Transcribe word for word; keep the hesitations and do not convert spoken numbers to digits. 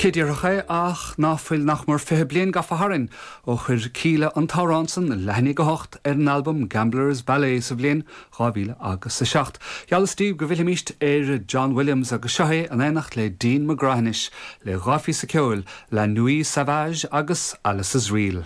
Cé déarfadh é ach ná fuil nach mór fiche bliain gafa tharainn ó chuir Kíla an t-amhrán san leath i ndiaidh a hocht ar an albam Gambler's Ballet sa bhliain dhá mhíle agus a seacht. Gheallas daoibh go bhfillfimis ar John Williams agus seo é in éineacht le Dean McGrath anois le dhá phíosa ceoil La Nuit Sauvage agus Alice's Reel.